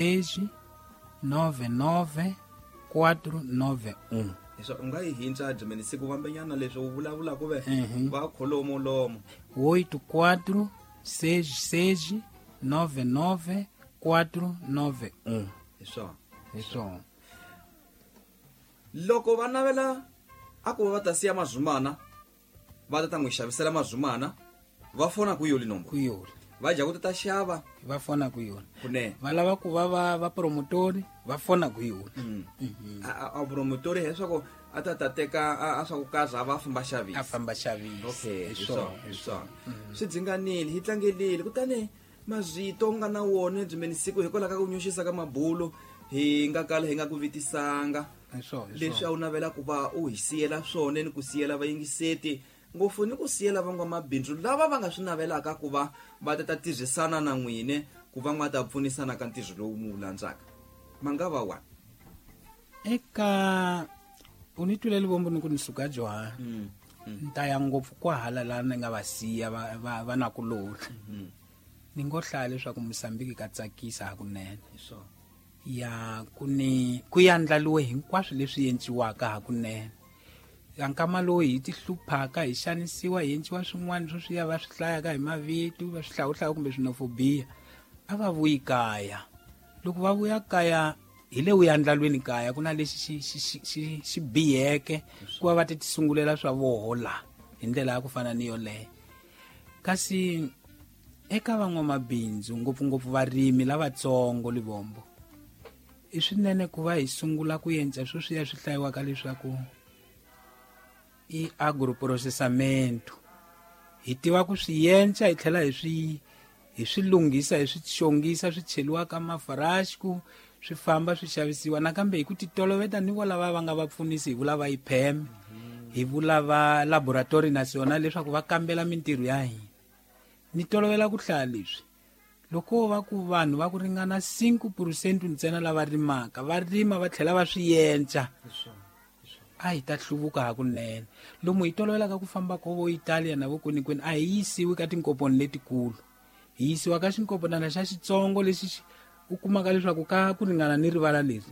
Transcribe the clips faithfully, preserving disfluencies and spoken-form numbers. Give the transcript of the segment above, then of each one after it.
seis nove nove quatro nove um. Leswi u nga yi hintsa Germany siku vambenyana leswi u vulavula ku ve va kholomo lomo. oito quatro seis seis nove nove quatro nove um. Hi swona. Hi swona. Loko va navela a ku va ta siya mazumana va ta ta n'wi xavisela mazumana va fona ku yoli nomboro. Ku yoli. Va dya ku ta xava va fona ku yona. Kunene. Va lava ku va va va promotori va fona ku yona. Mm. A a promotori leswaku a ta ta teka a swa ku kaza va famba xavisa. A famba xavisa. Okay, hi swona, hi swona. Swi dzinganile, hi tlangelile kutani mazito nga na wona Germany siku hikwalaho ka ku nyoxisa ka mabulo hi nga kala hi nga ku vitisanga. Hi swona. Leswi a wu navela ku va u hi siyela swona ni ku siyela vayingiseti ngopfu ni ku siyela van'wamabindzu lava va nga swi navelaka ku va va ta ta tirhisana na n'wine ku va n'wa ta pfunisana ka ntirho lowu mu wu landzaka ma nga va wa eka u ni twile Livombo ni ku ni suka Johan mm. mm. ni ta ya ngopfu kwahala laha ni nga va siya va va, va na kulori mm -hmm. ni ngo hlaya leswaku Mozambique ka tsakisa hakunene hi swona ya ku ni ku yandlaliwe hinkwaswo leswi endliwaka hakunene nkama lowu hi ti hluphaka hi xanisiwa hi endliwa swin'wana swo swi ya va swi hlayaka hi mavito va swi hlawuhlaya kumbe swinofobia a va vuyi kaya loko va vuya kaya hi le uyandlalweni kaya ku na lexi xi xi xi xi xi biheke ku va va ti tisungulela swa voho la hi ndlela ya ku fana ni yoleyo kasi eka van'wamabindzu ngopfungopfu varimi lavatsongo Livombo i swinene ku va hi sungula ku endla swo swi ya swi hlayiwaka leswaku i agroprocessamento hi tiva ku swi endla hi tlhela hi swi hi swi lunghisa hi swi xongisa swi cheliwa ka mafarasku swi famba swi xavisiwa nakambe hi ku titoloveta ni vo lava va nga va pfunisi hi vula va I P E M hi vula va laboratory national leswaku va kambela mintirho ya hina ni tolovela ku hlaya leswi loko va ku vanhu va ku ringana cinco por cento ntsena lava rimaka va rima va tlhela va swi endla a hi ta hluvuka hakunene lomu hi tolovelaka ku famba ko vo Italia na vo kwenikwenu a hi yisiwi ka tinkomponi letikulu hi yisiwa ka xinkomponana xa xitsongo lexi u kumaka leswaku ka ku ringana ni rivala leri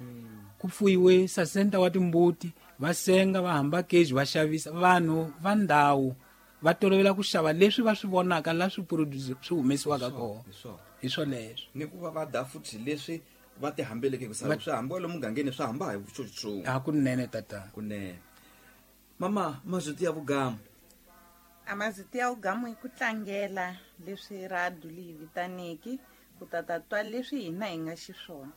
ku fuyiwe sasenta wa timbuti va senga va hamba keji va xavisa vanhu va ndhawu va tolovela ku xava leswi va swi vonaka la swi produce swi humesiwaka kona hi swoleswo ni ku va va da futhi leswi va ti hambeleke ku sala swi hamba lomu mugangeni swi hamba hi vutsotso hakunene tata kunene mama mazwiti ya vugamu a mazwiti ya vugamu i ku tlangela leswi radu leyi vitaneki ku tata twa leswi hina hi nga xiswona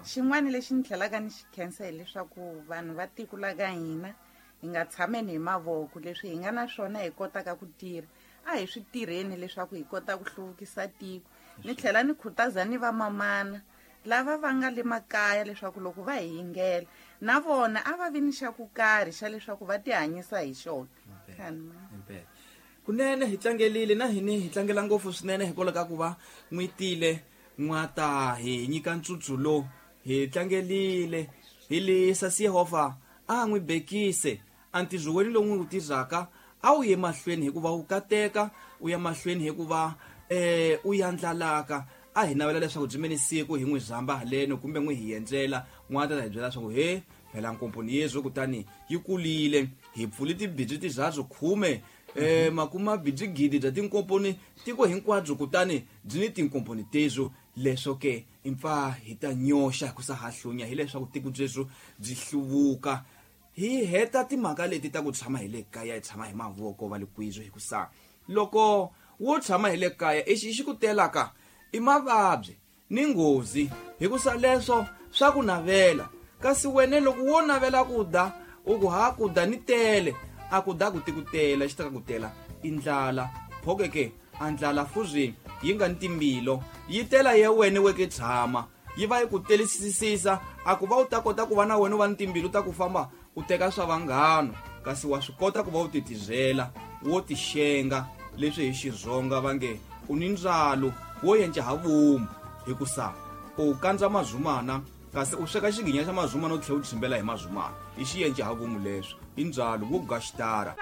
xin'wana lexi ni tlhelaka ni xi khensa hileswaku vanhu va tiko la ka hina hi nga tshameni hi mavoko leswi hi nga na swona hi kotaka ku tirha a hi swi tirheni leswaku hi kota ku hluvukisa tiko ni tlhela ni khutaza ni vamamana lava va nga le makaya leswaku loko va hi yingela na vona a va vi ni xa ku karhi xa leswaku va tihanyisa hi xona. Kunene hi tlangelile na hini hi tlangela ngopfu swinene hikwalaho ka ku va n'wi tile n'wata hi nyika ntsutsu lo hi tlangelile hi lisa Yehovha a n'wi bekise antirho lowu n'wi wu tirhaka a wu ye mahlweni hikuva wu kateka u ya mahlweni hikuva eh u yandlalaka a hi navela leswaku Germany siku hi n'wi zamba haleno kumbe n'wi hi endlela n'wana ta hi byela leswaku he phela nkomponi yezwo kutani yi kulile hi pfule tibidzi tizathu khume eh makuma bidzi gidi bya tinkomponi tiko hinkwabyo kutani byi ni tinkomponi tezo leswo ke impfa hi ta nyoxa ku sa hahlunya hileswaku tiko byeswo byi hluvuka hi heta timhaka leti ta ku tshama hi le kaya hi tshama hi mavoko va le kwizo hi ku sa loko wo tshama hi le kaya exi xi ku telaka i mavabyi ni nghozi hikusa leswo swa ku navela kasi wena loko wo navela ku da u ku ha ku da ni tele a ku da ku ti ku tela xi ta ku tela i ndlala phokeke a ndlala fuzi yi nga ni timbilo yi tela ya wena weke tshama yi va yi ku telisisisa a ku va u ta kota ku va na wena u va ni timbilu ta ku famba u teka swa vanghano kasi wa swi kota ku va u titizela wo tixenga leswi hi Xitsonga va nge u ni ndzalo wo yenca ha vomu hikusa u kandza mazumana kasi u sweka xiginya xa mazumana u tlhela u tshimbela hi mazumana i xiyenca ha vomu leswo i ndzalo wo gaxitara.